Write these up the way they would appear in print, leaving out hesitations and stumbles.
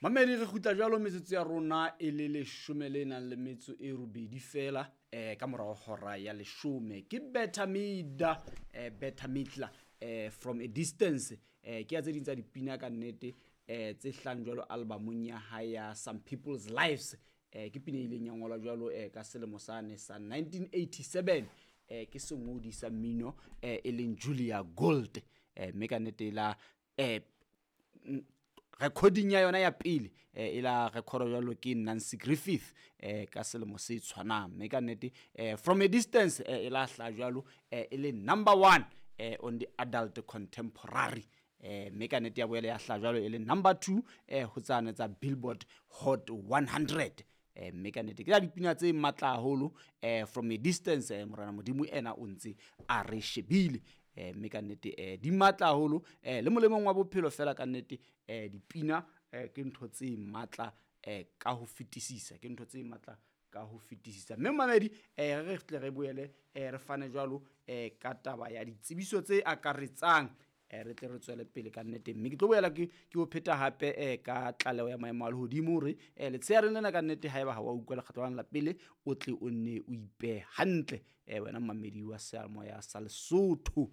Mamedi, re kgutla jwalo metsotso ya rona e le leshome le nang le metso e robedi fela ka morao hora ya leshome. Ke Better Mida, Better Mitla, From a Distance. Ke ya tse ding tsa dipina ka nnete tse hlang jwalo albumong ya hae ya Some People's Lives. Ke pina e ileng ya ngolwa jwalo ka selemo sane sa 1987. Ke sengodi sa mmino e leng Julia Gold. Mme ka nnete la recording ya yona ya pele e la record jwalo ke Nancy Griffith ka selemo se tshwanang. Mme ka nnete From a Distance e la hla jwalo e le number 1 on the adult contemporary. Mme ka nnete ya boela ya hla jwalo e le number 2 ho tsane tsa Billboard Hot 100. Mme ka nnete ke la dipina tse matla haholo, From a Distance. Morena Modimo ena o ntse a re shebile. Mme ka nnete di matla haholo, le molemong wa bophelo fela ka nnete. Dipina ke ntho tse matla ka ho fetisisa, ke ntho tse matla ka ho fetisisa. Mme mamedi, re tle re boele re fane jwalo ka taba ya ditsebiso tse akaretsang, re tle re tswele pele ka nnete. Mme ke tlo boela ke o pheta hape ka tlaleho ya maemo a lehodimo hore letsheareng lena ka nnete haeba ha wa utlwa lekgetlo la pele, o tle o nne o ipehe hantle, wena mamedi wa seyalemoya sa Lesotho.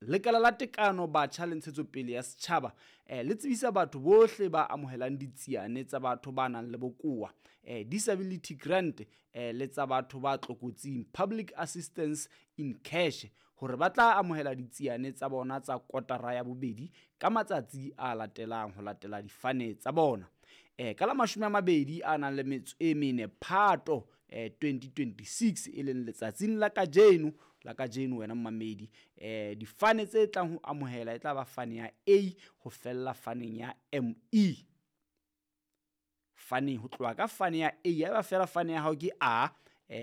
Lekala la tekano batjha le ntshetsopele ya setjhaba le tsebisa batho bohle ba amohelang ditsiane tsa batho ba nang le bokowa, disability grant, le tsa batho ba tlokotsing, public assistance in cash, hore ba tla amohela ditsiane tsa bona tsa kotara ya bobedi ka matsatsi a latelang ho latela difane tsa bona. Ka la 24 a nang le metso e mene Phato 2026, e leng letsatsing la kajeno wena mmamedi, difane tse tlang ho amohela e tla ba fane ya A ho fella faneng ya ME. Faneng ho tloha ka fane ya A, haeba fela fane ya hao ke A,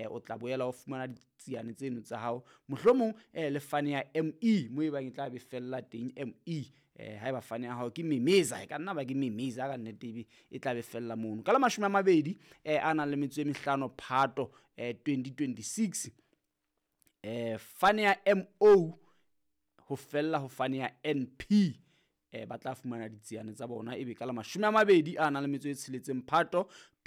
o tla boela o fumana ditsiane tseno tsa hao, mohlomong le fane ya ME mo e bang e tla be fella teng ME. Haeba fane ya hao ke memeza, e ka nna ba ke memeza ka nnete ebe e tla be fella mono. Ka la 20 a nang le metso e mehlano Phato 2026, fane ya MO ho fella ho fane ya NP, ba tla fumana ditsiane tsa bona ebe ka la 20 a nang le metso e tsheletseng Phato